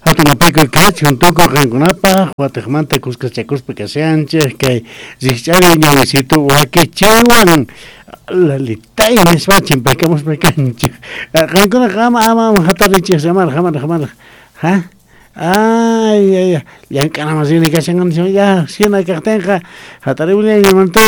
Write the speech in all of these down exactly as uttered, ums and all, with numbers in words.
Hatunapaykuy kachun tukuy qankunapaq watiqmanta kuskachakuspa kashanchik kay rikch'ari ñawisitu wakichiwan lalitay nispa chimpaykamuspa kanchik. Qankunaqa ama ama hatarichik hamaraq hamaraq hamaraq ha ay ay llank'anaman rini kashan ya hina kaqtinqa hatarimullañamanta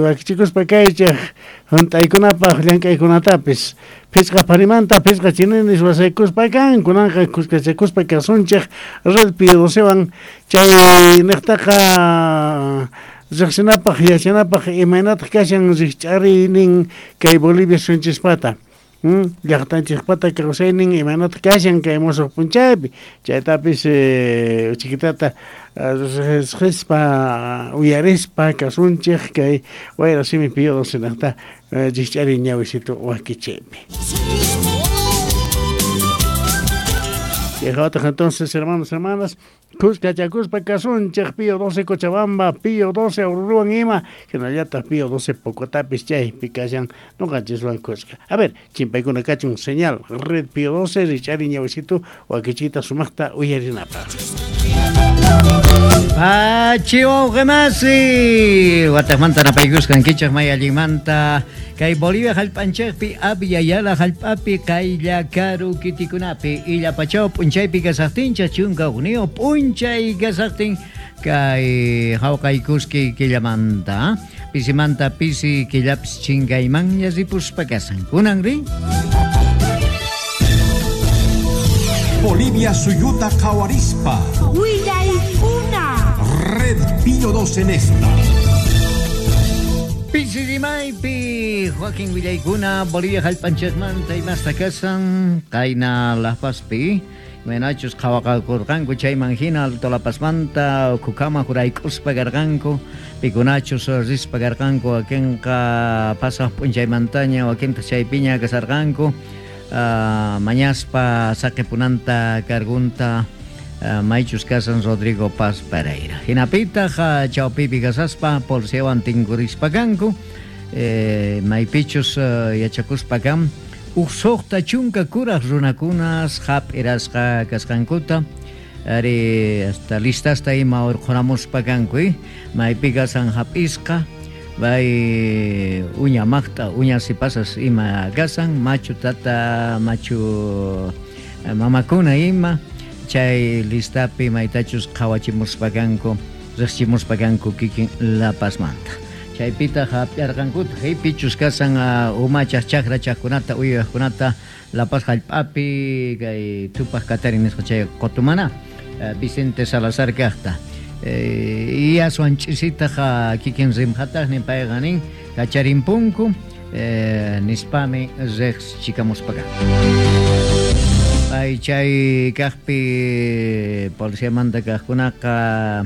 wakichikuspa kaychik hunt'aykunapaq llank'aykunatapis phisqa parimanta phisqa chininis wasaykuspa kan kunanqa kuskachakuspa kasunchik Red Pío docewan chay niqtaqa riqsinapaq yachanapaq imaynataq kashan rikch'ariynin kay Bolivia sunchispata llaqtanchikpata kawsaynin imaynataq kashan kay musuq p'unchaypi chaytapis uchikitata riqsispa uyarispa kasunchik kay wayra simi Pío doce niqta rikch'ariy ñawisitu wakichiypi. Chayhawataq entonces hermanos hermanas kuskachakuspa kasunchik Pío doce Cochabamba, Pío doce Aururuwan ima hinallataq Pío doce Pocotapis chaypi kashan ñuqanchiswan kuska. A ver, chimpaykuna kachun señal Red Pío doce rikch'ariy ñawisitu wakichiyta sumaqta uyarinapaq. Pachi wawqimasi wataqmanta napaykusqankichik may allinmanta kay Bolivia hallp'anchikpi Abya Yala hallp'api kaylla karu kitikunapi illapachaw p'unchaypi kasaqtinchik chunka hukniyuq p'unchay kasaqtin kay hawqaykuski killamanta pisimanta pisi killapis chinkaymanña ripuspa kasan kunanri Bolivia suyuta qhawarispa Red Pío doce en esta. Pisi rimaypi Joaquín Villaykuna Bolivia hallp'anchikmanta imasta kasan qayna La Pazpi imaynachus qhawaqakurqanku chayman hina Alto La Pazmanta ukhukama jurayk'uspa karqanku pikunachus rispa karqanku wakinqa pasaq p'unchaymantaña wakintaq chaypiña kasarqanku uh, mañaspa saqipunanta kargunta Uh, maychus kasan Rodrigo Paz Pereira. Hinapitaq uh, chawpipi kasaspa policiawan tinkurispa kanku eh, maypichus uh, yachakuspa kan uj suqta chunka kuraq runakunas hap'irasqa kasqankuta ari hasta listasta ima urqhunamuspa kanku eh? Maypi kasan hap'isqa bay uña maqta uña sipasas ima kasan machu tata machu mamakuna ima chay listapi maytachus qhawachimuspa kanku riqchimuspa kanku kikin La Pazmanta chaypitaq hap'arqankutaq pichus kasan uh, umachaq chakrachaqkunata uywaqkunata La Paz hallp'api kay Tupac Katari nisqa chay qutumana uh, Vicente Salazar kaqta eh, y aswan ch'isitaq uh, kikin rimqataqnin payqa nin kacharinpunku eh, nispami riqchikamuspa kanku. Ay chay kaqpi policiamanta kaqkunaqa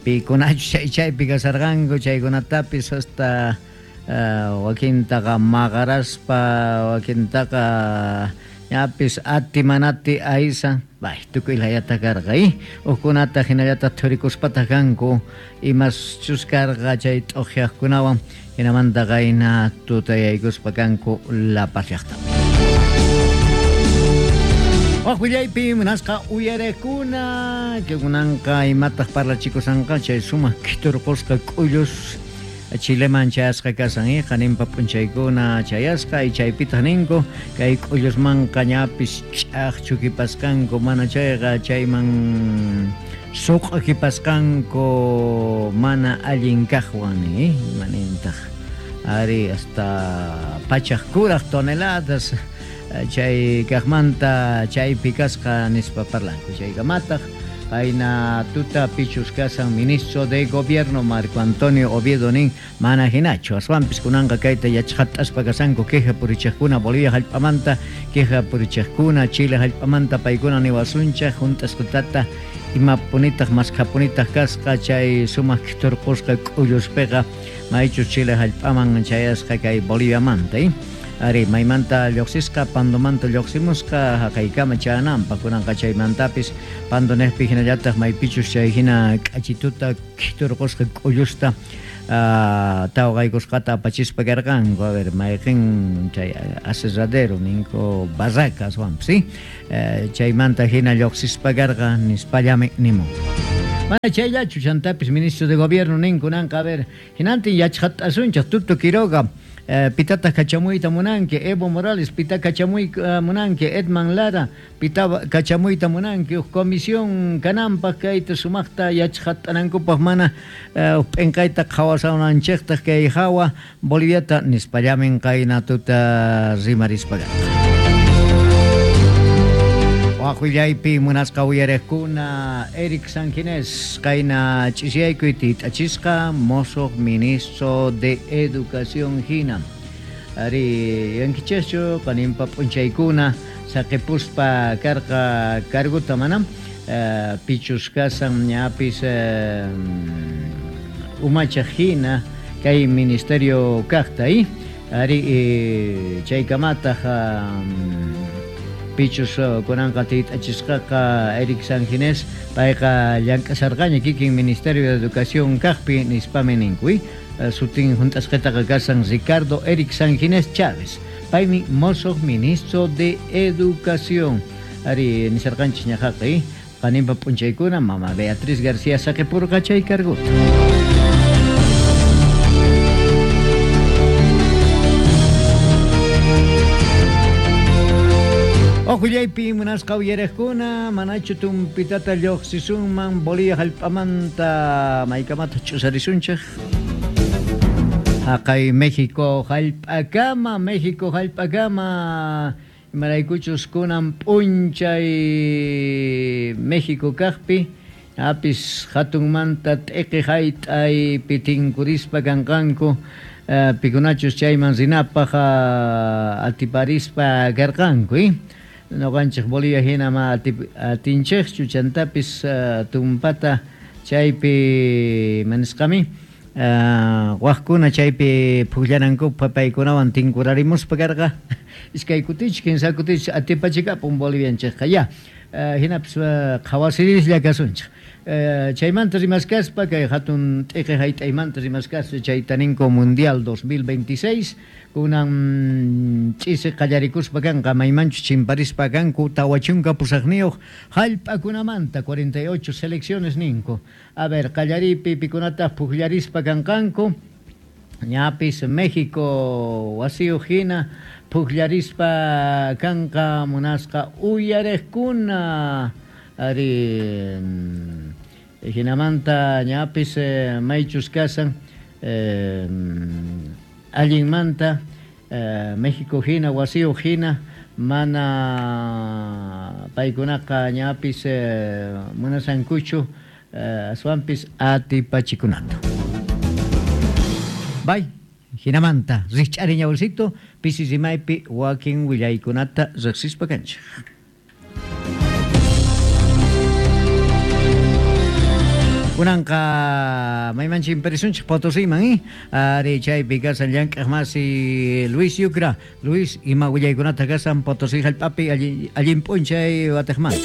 pikunachu chay chaypi kasarqanku chaykunatapis hasta uh, wakintaqa maqaraspa wakintaqa ñapis ati manati aysa bay tukuy layata karqa eh hukkunata hinallataq thurikuspataq kanku imaschus karqa chay t'uqyaqkunawan hinamanta qayna tutayaykuspa kanku La Paz llaqtapi. Waqwillaypi munasqa uyarekuna que kunanqa imataq parlachikusanqa chay sumaq kiturqusqa k'ullus Chileman chayasqa kasan eh qaninpa p'unchaykuna chayasqa y chaypitaq ninku kay k'ullusmanqa ñapis ch'aqchukipasqanku mana chayqa chayman suq'akipasqanku mana allin kaqwan eh manintaq ari hasta pachaq kuraq toneladas chay kaqmanta chaypi kasqa nispa parlanku chaykamataq payna tuta pichus kasan ministro de gobierno Marco Antonio Oviedo nin mana hinachu aswanpis kunanqa kayta yachaqat'aspa kasanku queja purichaqkuna Bolivia hallp'amanta queja purichaqkuna Chile hallp'amanta paykuna niwasunchaq hunt'asqutata imapunitaq maskhapunitaq kasqa chay sumaq kiturqusqa k'ulluspiqa maychus Chile hallp'aman chayasqa kay Boliviamanta eh? Ari maymanta lluqsisqa Pandomanta lluqsimusqa haqaykama chananpaq kunanqa chaymantapis Pandonejpi hinallataq maypichus chay hina k'achituta kiturqusqa k'ullusta uh, tawqaykusqata apachispa karqanku. A ver, mayqin chay aserradero ninku barracas wanpis, ¿sí? Uh, chaymanta hina lluqsispa karqa nispallami nimun. Mana chayllachu chantapis ministro de gobierno ninkunanqa, a ver, hinantin yachqat'asunchaq Tuto Quiroga, eh, pitata kachamuyta munanki, Evo Morales pita kachamuy uh, munanki, Edman Lara pita kachamuyta munanki, uj comisión kananpaq kayta sumaqta yachqat'anankupaq mana uh, p'inqayta qhawasananchikta kay hawa Boliviata nispallamin qayna tuta rimarispa karqa. Waqillaypi munasqa uyariqkuna Eric Sanginés qayna ch'isiyaykuy tit'achisqa mosoq ministro de Educación hina. Ari yankichaschu qaninpa p'unchaykuna saqipuspa karqa carguta manam uh, pichus kasan ñapis uh, umachaq hina kay ministerio kaqta y ari eh, chaykamataq um, pichus kunanqa tit'achisqaqa Eric Sanginés payqa llank'asarqaña kikin Ministerio de Educación kaqpi nispami ninku. Sutin junt'asqitaqa kasan Ricardo Eric Sanginés Chávez, paymi mosoq ministro de Educación. Ari nisarqanchis ñaqaqa qaninpa p'unchaykuna mama Beatriz García saqipurqa chay carguta. Ojullaypi munasqa uyariqkuna manachu tumpitata lluqsisunman Bolivia hallp'amanta maykamata ch'usarisunchik haqay México hallp'akama México hallp'akama imaraykuchus kunan p'unchay México kaqpi apis hatunmanta t'iqi hayt'aypi tinkurispa kanqanku uh, pikunachus chayman rinapaq uh, atiparispa karqanku eh? Noqanchik Bolivia hina ma atinchikchu chantapis uh, tumpata chaypi manisqami uh, waqkuna chaypi pukllanankupaq paykunawan tinkurarimuspa karqa iskay kutich kinsa kutich atipachikapun Bolivianchikqa ya uh, hinapis uh, qhawasirislla kasunchik. Uh, chaymanta rimaskaspa kay hatun t'iqi hayt'aymanta rimaskaspa chayta ninku Mundial dos mil veintiséis kunan ch'isi qallarikuspa kanqa maymanchus chimparispa kanku tawa chunka pusaqniyuq hallp'akunamanta cuarenta y ocho selecciones ninku. A ver, qallaripi pikunataq pukllarispa kanqanku ñapis México wasiyuq hina pukllarispa kanqa munasqa uyariqkuna. Ari hinamanta ñapis eh, maychus kasan eh, allinmanta eh, México hina wasiyuq hina mana paykunaqa ñapis eh, munasankuchu eh, aswanpis atipachikunata. Bay hinamanta rikch'ari ñawsito pisi rimaypi wakin willaykunata riqsispa kanchik. Kunanqa maymanchik imperisunchik Potosíman eh? Ari chaypi kasan llank'aq masi Luis Yucra. Luis, ima willaykunata kasan Potosí hallp'api allin, allin p'unchay watiqmanta.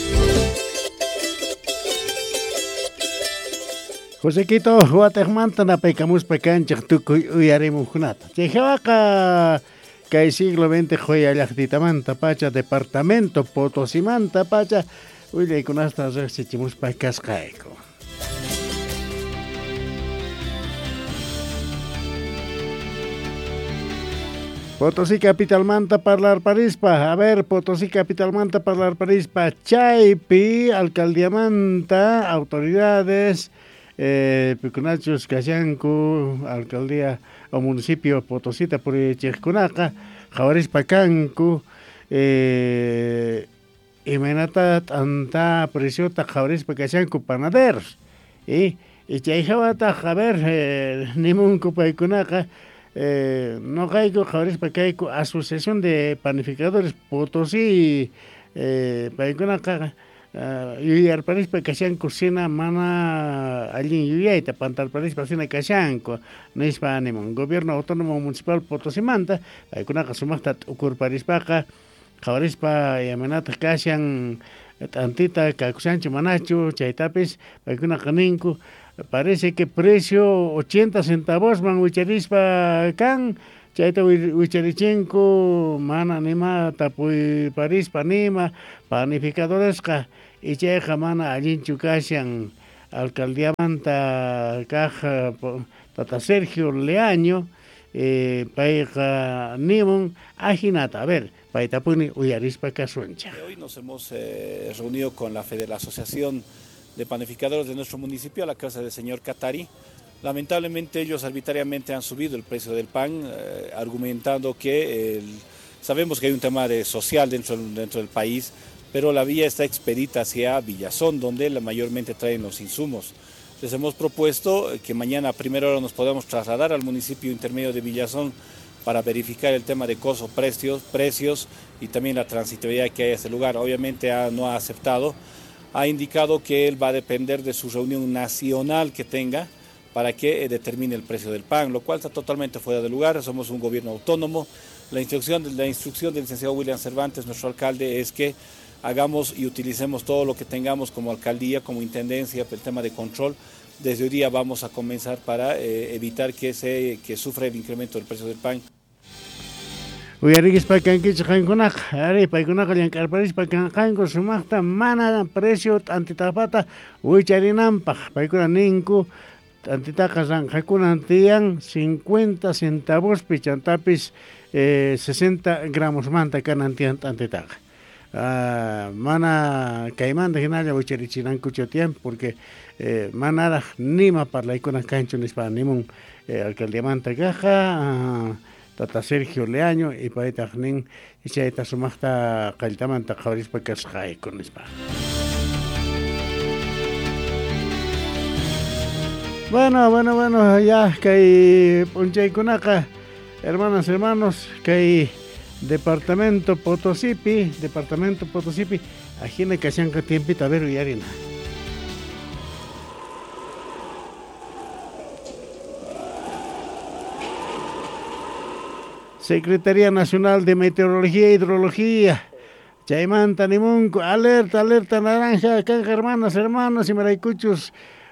Josequito, watiqmanta napaykamuspa kanchik tukuy uyarimuqkunata. Chay hawaqa kay siglo veinte joya llaqtitamanta pacha departamento Potosimanta pacha willaykunasta riqsichimuspa kasqayku. Potosí capitalmanta parlar parispa, a ver, Potosí capitalmanta parlar parispa, chaypi, alcaldiamanta, autoridades, eh, pikunachus kashanku, alcaldía o municipio Potosita purichiqkunaqa, qhawarispa kanku, eh, imaynata t'anta preciota qhawarispa kashanku panaderos, y, y chay hawataq, a ver, eh, nimunku paykunaqa, Eh, noqayku qhawarispa kayku Asociación de Panificadores Potosí eh, paykunaqa uh, yuyarparispa kashanku sina mana allin yuyayta pantarparispa sina kashanku nispa animun Gobierno Autónomo Municipal Potosimanta paykunaqa sumaqta t'ukurparispaqa qhawarispa imaynataq kashan T'antita kakushanchu manachu chaytapis paykunaqa ninku parece que precio ochenta centavosman wicharispa kan chayta wicharichenku mana nima tapuyparispa nima panificadoresqa y chayqa mana allinchu kashan alcaldiamanta kaj tata Sergio Leaño eh, payqa nimun ajinata. A ver, paytapuni uyarispa kasunchej. Hoy nos hemos eh, reunido con la Fede, la Asociación de Panificadores de nuestro municipio, a la casa del señor Catari. Lamentablemente ellos arbitrariamente han subido el precio del pan, eh, argumentando que el, sabemos que hay un tema de social dentro, dentro del país, pero la vía está expedita hacia Villazón, donde la mayormente traen los insumos. Les hemos propuesto que mañana a primera hora nos podamos trasladar al municipio intermedio de Villazón para verificar el tema de costo, precios, precios y también la transitabilidad que hay a ese lugar. Obviamente ha, no ha aceptado, ha indicado que él va a depender de su reunión nacional que tenga para que determine el precio del pan, lo cual está totalmente fuera de lugar. Somos un gobierno autónomo. La instrucción, la instrucción del licenciado William Cervantes, nuestro alcalde, es que hagamos y utilicemos todo lo que tengamos como alcaldía, como intendencia, el tema de control. Desde hoy día vamos a comenzar para eh, evitar que se que sufra el incremento del precio del pan. Uyarikispa kankichik qankunaqa, ari paykunaqa llank'arparispa kanqanku sumaqta mana precio t'antitapata wicharinanpaq. Paykuna ninku t'antitaqa ranqakunan tiyan cincuenta centavospi chantapis eh, sesenta gramosmanta kanan tiyan t'antitaqa. Uh, mana kaymanta hinalla wicharichinankuchu tiyan porque eh, manaraj nima parlaykuna kanchu nispa nimun eh, alcaldiamanta kajqa uh, tata Sergio Leaño y paytaq nin chayta sumaqta qalltamanta qhawarispa kasqayku nispa. Bueno, bueno, bueno, ya kay p'unchaykunaqa hermanas, hermanos, kay Departamento Potosipi, Departamento Potosipi, ajina kashanqa tiempita, a ver uyarina. Secretaría Nacional de Meteorología e Hidrología, chaymanta nimunku, alerta, alerta naranja, kanja hermanas, hermanos, imaraykuchus,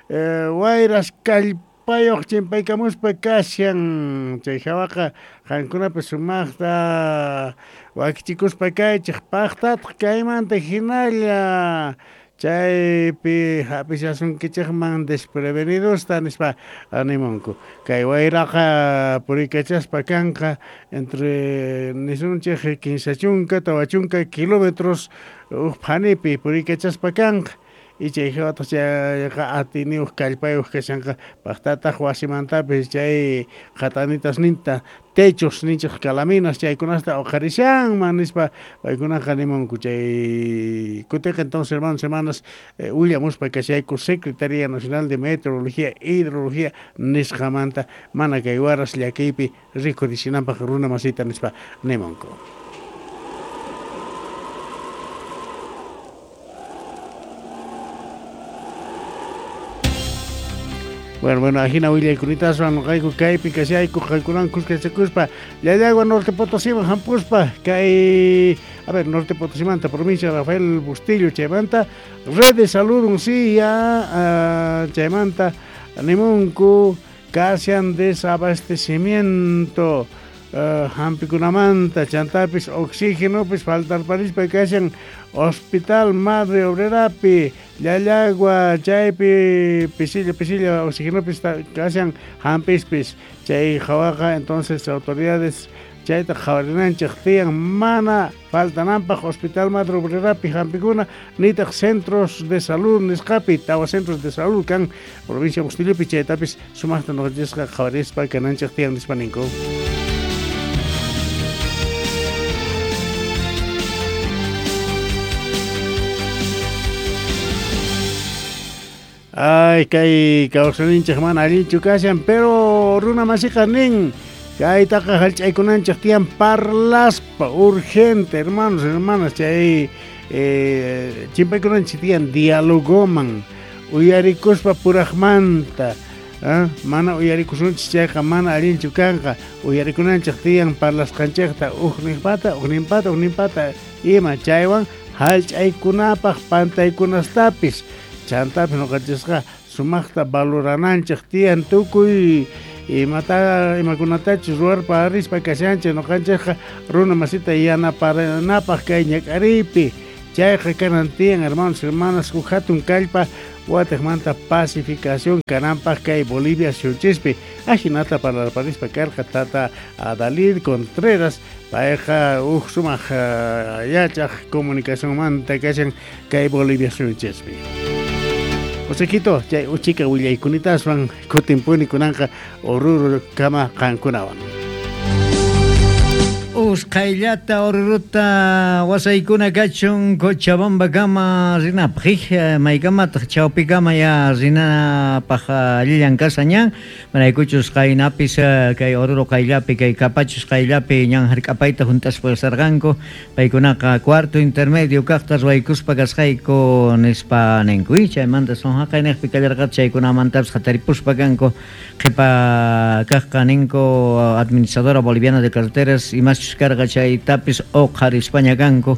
eh, wayras kallpayoq chimpaykamuspa kashan, chay hawaqa qankunapi sumaqta wakichikuspa kaychik paqtataq kaymanta hinalla chaypi hap'ishasunkichikman desprevenidosta nispa animunku. Kay wayraqa purikachaspa kanqa entre nisunchik kinsa chunka tawa chunka kilómetros uj phanipi purikachaspa kanqa. Y chay hawataq chayqa atiniyuq kallpayuq kashanqa paqtataq wasimantapis chay qatanitas ninta techos ninchik calaminas chaykunasta uqharishanman nispa paykunaqa nimunku. Chay kutiqa entonces hermanos, hermanas, eh, willamuspa kashayku Secretaría Nacional de Meteorología e Hidrología nisqamanta mana kay waras llakiypi rikurishinanpaq runa masita nispa nimunku. Bueno, bueno, ajina willaykunitawan noqayku kaypi kashayku qankunawan kuskachakuspa Llallagua Norte Potosiman hampuspa kay a ver Norte Potosimanta provincia Rafael Bustillo chaymanta Red de Salud Uncía uh, chaymanta nimunku kashan desabastecimiento uh, hampikunamanta chantapis oxígenopis faltarparispa kashan Hospital Madre Obrerapi Llallagua chaypi pisilla pisilla oxígenopis kashan hampispis chay hawaqa entonces autoridades chayta qhawarinanchik tiyan mana faltananpaq Hospital Madre Obrerapi hampikuna nitaq centros de salud nisqapi tawa centros de salud kan provincia Bustillopi chaytapis sumaqta nuqanchisqa qhawarispa kananchik tiyan nispa ninku. Ay, kay kawsayninchik mana allinchu kashan, pero runa masiqa nin kaytaqa hallch'aykunanchik tiyan parlaspa urgente, hermanos, hermanas, chay eh, chimpaykunanchik tiyan dialogoman uyarikuspa puraqmanta, ¿eh? Mana uyarikusunchik chayqa mana allinchu kanqa, uyarikunanchik tiyan parlasqanchikta ujninpata, ujninpata, ujninpata ima chaywan Hallch'aykunapaq pantaykunastapis chantapis ñuqanchisqa sumaqta valorananchik tiyan tukuy imata imakunatachus ruwarpa rispa kashanchik ñuqanchikqa runa masita yanaparanapaq kay ñak'ariypi chayqa kanan tiyan hermanos hermanas huk hatun kallpa watiqmanta pacificación kananpaq kay Bolivia suyunchispi ajinata parlarparispa karqa tata Adalid Contreras payqa huk sumaq yachaq comunicacionmanta kashan kay Bolivia suyunchispi. Josequito, chay uchika willaykunitaaswan kutinpuni kunanqa Oruro kama qankunawan. Usqhayllata Oruruta wasaykuna kachun Cochabamba kama rinapaq maykamataq chawpikama ya rinapaq allillan kashan ñan maraykuchus qaynapis kay Oruro qayllapi kay Capachos qayllapi ñan hark'apayta hunt'aspa kasarqanku paykunaqa cuarto intermedio kaqta ruwaykuspa kasqayku nispa ninku chaymanta son haqayniqpi kallarqataq chaykunamantapis hataripuspa kanku qhipa kaqqa ninku administradora boliviana de carreteras imaschus karqa chaytapis uqharispaña kanku